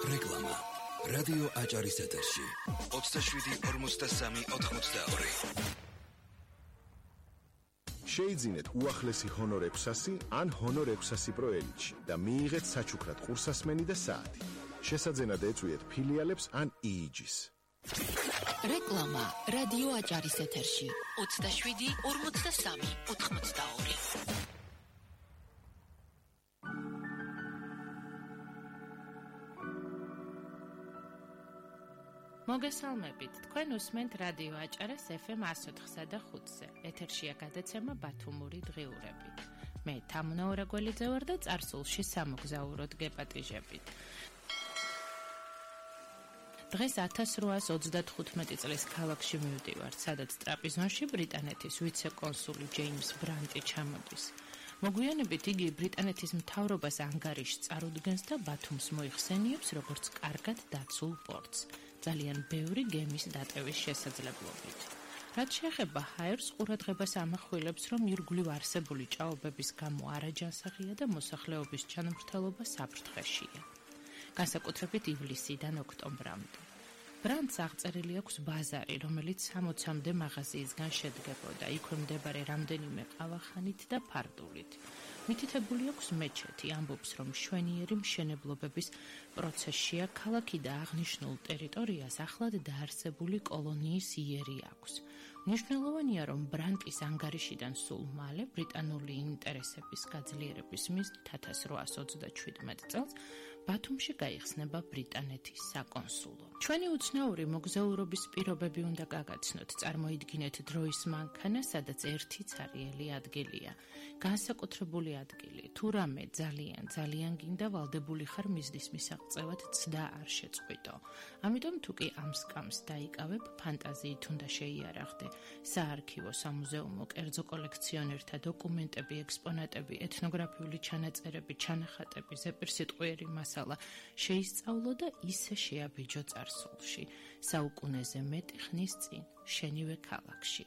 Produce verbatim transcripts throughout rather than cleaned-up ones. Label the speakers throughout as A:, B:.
A: რეკლამა რადიო აჭარის ეთერში ოცდაშვიდი ორმოცდასამი ოთხმოცდაორი.
B: შეიძინეთ უახლესი ჰონორ ექვსასი ან ჰონორ ექვსასი პრო ელიტში და მიიღეთ საჩუქრად ყურსასმენი და საათი. შესაძენად ეწვიეთ ფილიალებს ან ი-იჯის.
C: რეკლამა რადიო აჭარის ეთერში ოცდაშვიდი ორმოცდასამი ოთხმოცდაორი.
D: მოგესალმებით, თქვენ უსმენთ რადიო აჭარას ეფ ემ εκατო ოთხსა და ხუთზე. ეთერშია გადაცემა ბათუმური დღიურები. მე თამუნა ორაგველიძე ვარ და წარსულში სამოგზაუროდ გეპატიჟებით. დღეს ათას რვაას ოცდათხუთმეტი წლის ქალაქში მივდივარ, სადაც ტრაპიზონში ბრიტანეთის ვიცე-კონსული ჯეიმს ბრანტი ჩამოდის. მოგვიანებით იგი ბრიტანეთის მთავრობას ანგარიშს წარუდგენს და ბათუმს მოიხსენიებს როგორც კარგად დაცულ პორტს, ძალიან ბევრი გემის დატევის შესაძლებლობით. რაც შეეხება ჰაერს, ყურადღებას ამახვილებს, რომ ირგვლივ არსებული ჭაობების გამო არაჯანსაღია და მოსახლეობის ჩანმრთელობა საფრთხეშია. განსაკუთრებით ივლისიდან ოქტომბრამდე. ბრანტს აღწერილი აქვს ბაზარი, რომელიც სამოცამდე მაღაზიისგან შედგებოდა, იქვე მდებარე რამდენიმე ყავახანით და ფარდულით. მითითებული აქვს მეჩეთი, ამბობს, რომ მშვენიერი მშენებლობების პროცესშია ქალაქი და აღნიშნულ ტერიტორიას ახლად დაარსებული კოლონიის იერი აქვს. მნიშვნელოვანია, რომ ბრანტის ანგარიშიდან სულ მალე ბრიტანული ინტერესების გაძლიერების მიზნით ათას რვაას ოცდაშვიდმეტ წელს ბათუმში გაიხსნება ბრიტანეთის საკონსულო. ჩვენი უცნაური მოგზაურობის პირობები უნდა გაგაცნოთ, წარმოიდგინეთ დროის მანქანა, სადაც ერთი ცარიელი ადგილია. განსაკუთრებული ადგილი, თუ რამე ძალიან, ძალიან გინდა ვალდებული ხარ მიზნის მისაღწევად ცდა არ შეწყვიტო. ამიტომ თუ კი ამ სკამს დაიკავებ, ფანტაზიით უნდა შეიარაღდე. საარქივო, სამუზეუმო, კერძო კოლექციონერთა დოკუმენტები, ექსპონატები, ეთნოგრაფიული ჩანაწერები, ჩანახატები, ზეპირსიტყვიერი მასალა შეისწავლო და ისე შეაბიჯო წარსულში, საუკუნეზე მეტი ხნის წინ, შენივე ქალაქში.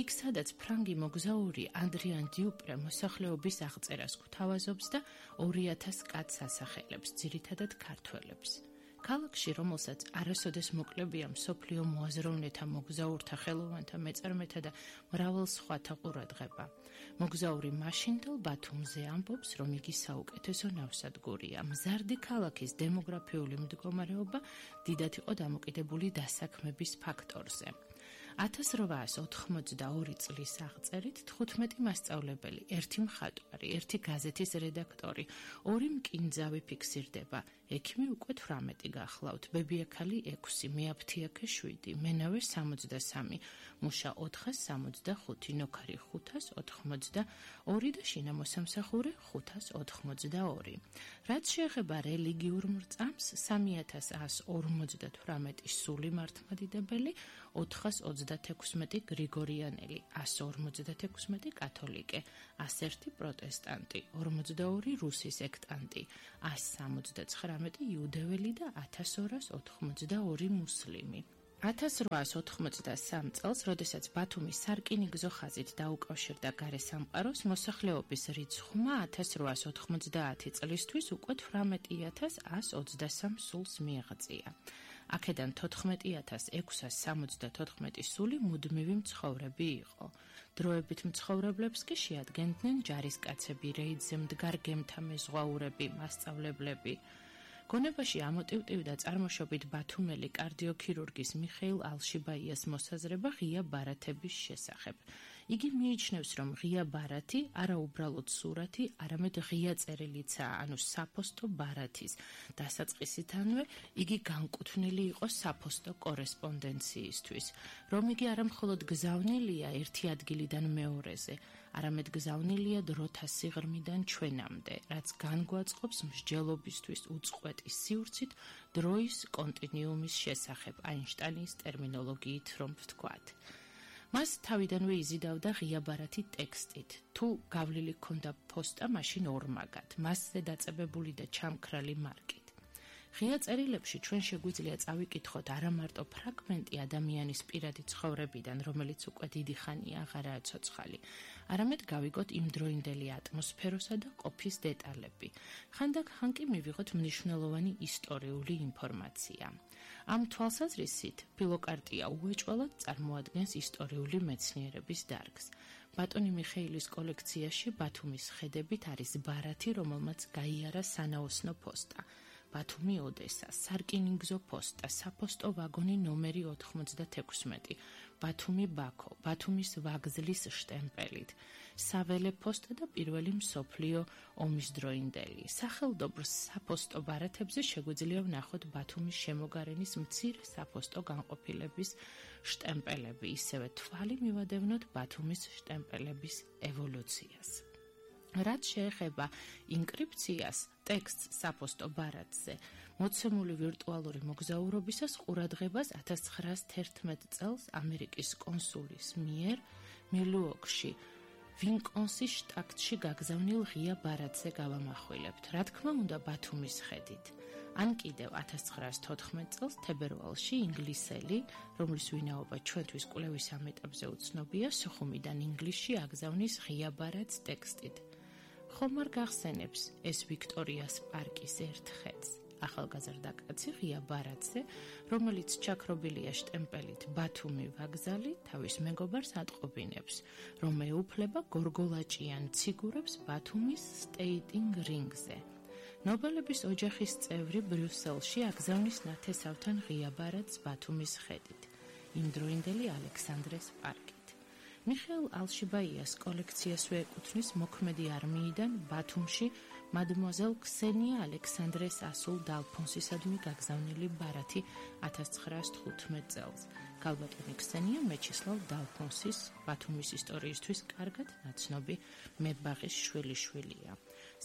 D: იქ, სადაც ფრანგი მოგზაური ადრიან დიუპრე მოსახლეობის აღწერას გვთავაზობს და ორი ათას კაცს ასახელებს, ძირითადად ქართველებს. ქალაქში, რომელსაც არასოდეს მოკლებია მსოფლიო მოაზროვნეთა, მოგზაურთა, ხელოვანთა, მეწარმეთა და მრავალ სხვათა ყურადღება. მოგზაური მაშინდელ ბათუმზე ამბობს, რომ იგი საუკეთესო ნავსადგურია. მზარდი ქალაქის დემოგრაფიული მდგომარეობა დიდად იყო დამოკიდებული დასაქმების ფაქტორზე. ათას რვაას ოთხმოცდაორი წლის აღწერით თხუთმეტი მასწავლებელი, ერთი მხატვარი, ერთი გაზეთის რედაქტორი, ორი მკინძავი ფიქსირდება. ექიმი უკვე თვრამეტი გახლავთ, ბებიაქალი ექვსი, მეაფთიაქე შვიდი, მენავე სამოცდასამი, მუშა ოთხას სამოცდახუთი, ნოქარი ხუთას ოთხმოცდაორი და შინამოსამსახურე ხუთას ოთხმოცდაორი. რაც შეეხება რელიგიურ მრწამს, სამი ათას ას ორმოცდათვრამეტი სული მართლმადიდებელი, ოთხას ოცდათექვსმეტი გრიგორიანელი, ას ორმოცდათექვსმეტი კათოლიკე, ას ერთი პროტესტანტი, ორმოცდაორი რუსი სექტანტი, ას სამოცდაცხრამეტი იუდეველი და ათას ორას ოთხმოცდაორი მუსლიმი. ათას რვაას ოთხმოცდასამ წელს, როდესაც ბათუმი სარკინიგზო ხაზით დაუკავშირდა გარესამყაროს, მოსახლეობის რიცხვმა ათას რვაას ოთხმოცდაათი წლისთვის უკვე თვრამეტი ათას ას ოცდასამ სულს მიაღწია. აქედან თოთხმეტი ათას ექვსას სამოცდათოთხმეტი სული მუდმივი მცხოვრები იყო. დროებით მცხოვრებლებს კი შეადგენდნენ ჯარისკაცები, რეიდზე მდგარ გემთა მეზღვაურები, მასწავლებლები. გონებაში ამოტივტივდა წარმოშობით ბათუმელი კარდიოქირურგის მიხეილ ალშიბაიას მოსაზრება ღია ბარათების შესახებ. იგი მიიჩნევს, რომ ღია ბარათი არა უბრალოდ სურათი, არამედ ღია წერილიცა, ანუ საფოსტო ბარათის დასაწყისითანვე იგი განკუთვნილი იყო საფოსტო კორესპონდენციისთვის. რომ იგი არა მხოლოდ გზავნილია ერთი ადგილიდან მეორეზე, არამედ გზავნილია დროთა სიღრმიდან ჩვენამდე, რაც განგვაწყობს მსჯელობისთვის უწყვეტ სივრცით დროის კონტინიუმის შესახებ, აინშტაინის ტერმინოლოგიით რომ ვთქვათ. მას თავიდანვე იზიდავდა ღია ბარათი ტექსტით. თუ გავლილი ქონდა ფოსტა, მაშინ ორმაგად, მასზე დაწებებული და ჩამქრალი მარკით. ღია წერილებში ჩვენ შეგვიძლია წავიკითხოთ არა მარტო ფრაგმენტი ადამიანის პირადი ცხოვრებიდან, რომელიც უკვე დიდი ხანია აღარაა ცოცხალი, არამედ გავიგოთ იმდროინდელი ატმოსფეროსა და ყოფის დეტალები. ხანდახან კი მივიღოთ მნიშვნელოვანი ისტორიული ინფორმაცია. ამ თვალსაზრისით ფილოკარტია უეჭველად წარმოადგენს ისტორიული მეცნიერების დარგს. ბატონი მიხეილის კოლექციაში ბათუმის ხედებით არის ბარათი, რომელმაც გაიარა სანაოსნო ფოსტა. ბათუმი ოდესა, სარკინიგზო პოსტა, საფოსტო ვაგონი ნომერი ოთხმოცდათექვსმეტი, ბათუმი ბაქო, ბათუმის ვაგზლის შტემპელით, საველე პოსტა და პირველი მსოფლიო ომის დროინდელი. სახელდობრ საფოსტო ბარათებზე შეგვიძლია ვნახოთ ბათუმის შემოგარენის მცირე საფოსტო განყოფილების შტემპელები, ისევე თვალი მივადევნოთ ბათუმის შტემპელების ევოლუციას. რაც შეეხება ინკრიფციას, ტექსტს საფოსტო ბარათზე, მოცემული ვირტუალური მოგზაურობისას ყურადღებას ათას ცხრაას თერთმეტ წელს ამერიკის კონსულის მიერ მილუოკში, ვინკონსის შტატში გაგზავნილ ღია ბარათზე გავამახვილებთ, რა თქმა უნდა ბათუმის ხედით. ან კიდევ ათას ცხრაას თოთხმეტ წელს თებერვალში ინგლისელი, რომლის ვინაობა ჩვენთვის კვლევის ამ ეტაპზე უცნობია, სოხუმიდან ინგლისში აგზავნის ღია ბარათს ტექსტით. ხომ არ გახსენებს ეს ვიქტორიას პარკის ერთ ხედს, ახალგაზრდა კაცი ღია ბარათზე, რომელიც ჩაქრობილია შტემპელით ბათუმი ვაგზალი, თავის მეგობარს ატყობინებს, რომ ეუფლება გორგოლაჭიან ციგურებს ბათუმის სტეიტინგ რინგზე. ნობელების ოჯახის წევრი ბრიუსელში აგზავნის ნათესავთან ღია ბარათს ბათუმის ხედით, იმდროინდელი ალექსანდრეს პარკით. მიხეილ ალშიბაიას კოლექციასვე ეკუთვნის მოქმედი არმიიდან ბათუმში მადმუაზელ ქსენია ალექსანდრეს ასულ დალფონსისადმი გაგზავნილი ბარათი ათას ცხრაას თხუთმეტ წელს. ქალბატონი ქსენია მეჩისლავ დალფონსის ბათუმის ისტორიისთვის კარგად ნაცნობი მებაღის შვილიშვილია.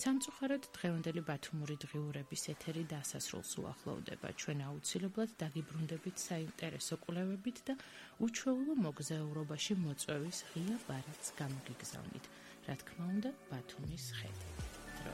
D: სამწუხაროდ დღევანდელი ბათუმური დღიურების ეთერი დასასრულს უახლოვდება. ჩვენ აუცილებლად დაგიბრუნდებით საინტერესო კვლევებით და უჩვეულო მოგზაურობაში მოწვევის ღია ბარათს გამოგიგზავნით. რა თქმა უნდა, ბათუმის ხედით.